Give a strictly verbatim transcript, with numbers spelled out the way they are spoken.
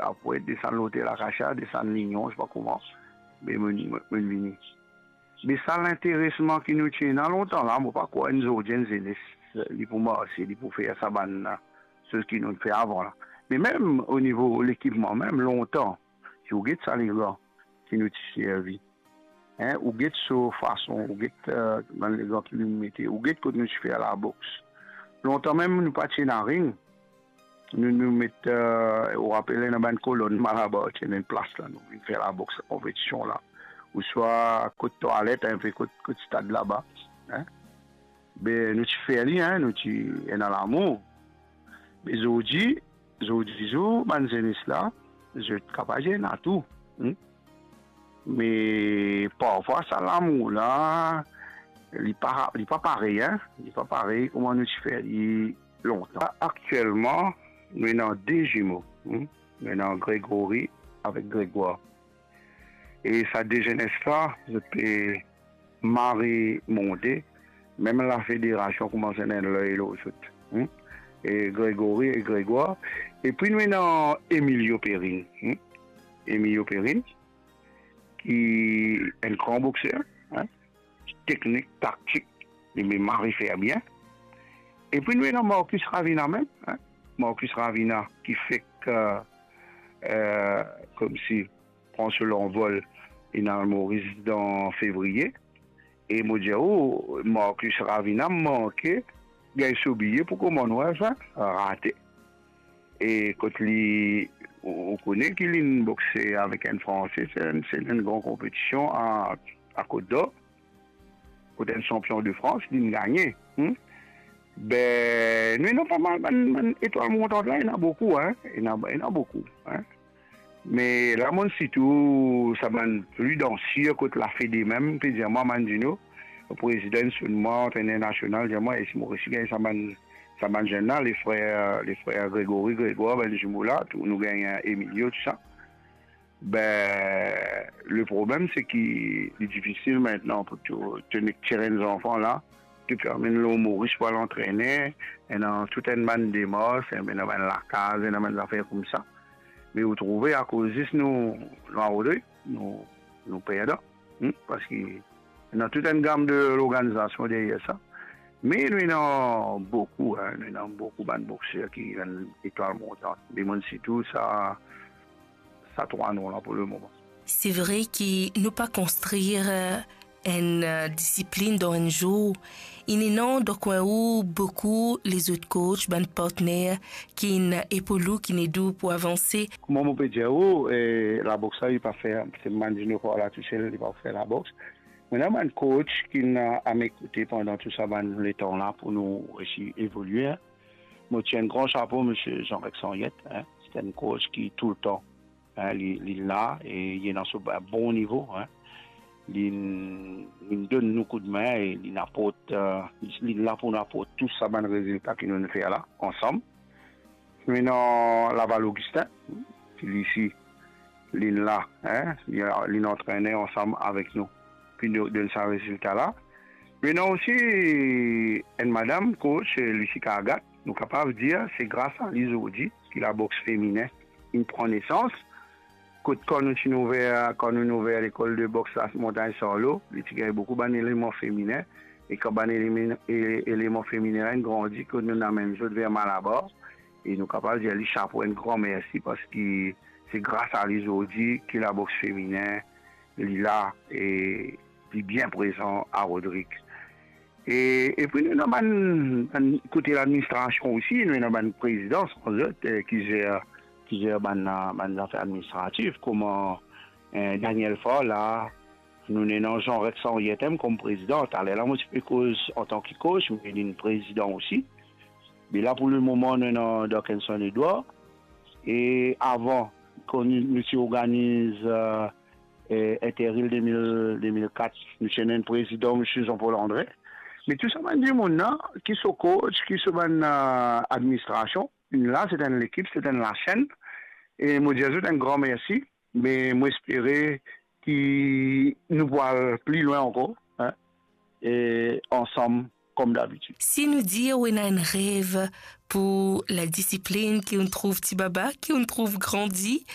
Apre, desann Lotel Akasia, desann Lignon, se pa kouma. Me mo, mo, mo vini. Me sa linteresman ki nou ti ena lontan la, mo pa krwar enn zordi enn zenes, li pou marse, li pou fer sa bann, eh, soz ki nou fer avan la. Me mem o nivo lekipman, mem lontan, si ou get sa legan ki nou ti servi, hein, ou get so fason, ou get, eh, bann legan ki nou mete, ou get kot nou ti fer laboks. Lontan mem, nou pa ti ena ring. Nou, nou met, eh, ou rapel, ena bann kolonn Malabar, ti ena enn plas la, nou vinn fer laboks, sa konpetision la. Ouswa kot twalet, enpe kot, kot stad laba, hein. Be, nou ti fer li, hein, nou ti ena lamour. Me zordi, zordi zour, bann zenes la, zot kapav ena tou, hmm. Me parfwa, sa lamour la, li pa, li pa parey, hein. Li pa parey kouma nou ti fer li lontan. Aktielman, nou ena de zimo, hmm. Nou ena Grégory avek Grégoire. E sa de zenes la, zot pe mari monte, mem lafederasion koumans ena enn ley lor zot, hmm. E Grégory e Grégoire. Epi nou ena Emilio Perrine, hmm. Emilio Perrine, ki enn gran bokser, hein, teknik, taktik, li mari fer bien. Epi nou ena Marcus Ravina mem, hein. Marcus Ravina ki fek, eh, eh, koumsi pran so lanvol, inn al Moris dan fevriye. E mo dir ou, Marcus Ravina manke gagn so biye pou Commonwealth, hein, rate. E kot li, ou, ou kone ki linn bokse avek enn Franse, se enn, se enn gran konpetision a, a Côte d'Or, kot enn sanpion de Frans, linn gagne, hmm. Be, nou ena pa mal bann, bann etwal montant la, ena boukou, hein, ena, ena boukou, hein. Me la, mo sitou sa bann pli dan sir kot lafede mem, pe dir mwa, Mandino, prezidan, sonn mwa, antrener nasional, dir mwa, e si mo resi gagn sa bann, sa bann zenn la, le frer, le frer Grégory, Grégoire, bann zimo la, tou, nou gagn Emilio, tou sa. Be, le problem, se ki li difisil aster pou to, to nek tir enn zanfan la, to pe amenn lor Moris pou al antrene, ena tou enn bann demars, ena bann lakaz, ena bann zafer koumsa. Me ou trouve, akoz zis nou, nou arodri, nou, nou perdan, hmm, parski ena tou enn gam de lorganizasion deryer sa. Me nou ena boukou, hein, nou ena boukou bann bokser ki enn etwal montant. Me mo sitou sa, sa trwa nom la pou lemoman. Se vre ki nou pa konstrir, eh, enn, eh, disiplinn dan enn zour. Inn ena dan kwin ou boukou lezot coach, bann partner ki'nn epoul ou, ki'nn ed ou pou avanse. Kouma mo pe dir ou, eh, laboks la, li pa fer, se Mandino Koala tousel, li pa fer laboks. Mo ena bann coach ki'nn a, a mo kote pandan tou sa bann letan la pou nou resi evolie, hein. Mo tir enn gran sapo, misie Jean-Rex Henriette, hein. Se enn coach ki toultan, hein, li, li la e li ena so ba-, bon nivo, hein. Li, li donn nou koudmin e li aport, eh, li la pou nou aport tou sa bann rezilta ki nou fer la, ansam. Nou ena Laval Augustin, ki li osi, linn la, hein, li, linn antrene ansam avek nou, pou nou donn sa rezilta la. Me ena osi enn madam coach, Lucie Cargat, nou kapav dir se gras a li zordi ki laboks feminen inn pran nesans. Kot kan nou ti ouver, kan nou ouver lekol de boks la Montagne Sarlo, li ti gagn boukou bann eleman feminen, e kan bann eleman, e-, eleman feminen la inn grandi, kot nou amenn zot ver Malabar, e nou kapav dir li sapo, enn gran mersi, parski se gras a li zordi ki laboks feminen, li la, e li bien prezan a Rodrig. E, epi nou ena bann, bann kote ladministrasion osi, nou ena bann prezidan, san zot, eh, ki zer, ki zer bann, bann zafer administratif, kouma, eh, Daniel Faure la, nou ena Jean-Rex Henriette kom prezidan. Taler la, mo ti pe koz antan ki coach, me linn prezidan osi. Me la, pou lemoman, nou ena Darkinson Edouard. E avan, kan nou, nou ti organiz, eh, eh, Inter-Îles de mil, de mil kat, nou ti ena enn prezidan, misie Jean-Paul André. Me tou sa bann dimoun la, ki so coach, ki so bann, eh, administrasion, la, se enn lekip, se enn lasenn. E mo dir zot enn gran mersi. Me mo espere ki nou pou al pli lwin ankor, hein, e ansam comme d'habitude. Si nou dir ou ena enn rev pou ladisiplinn ki ou'nn trouv ti baba, ki ou'nn trouv grandi,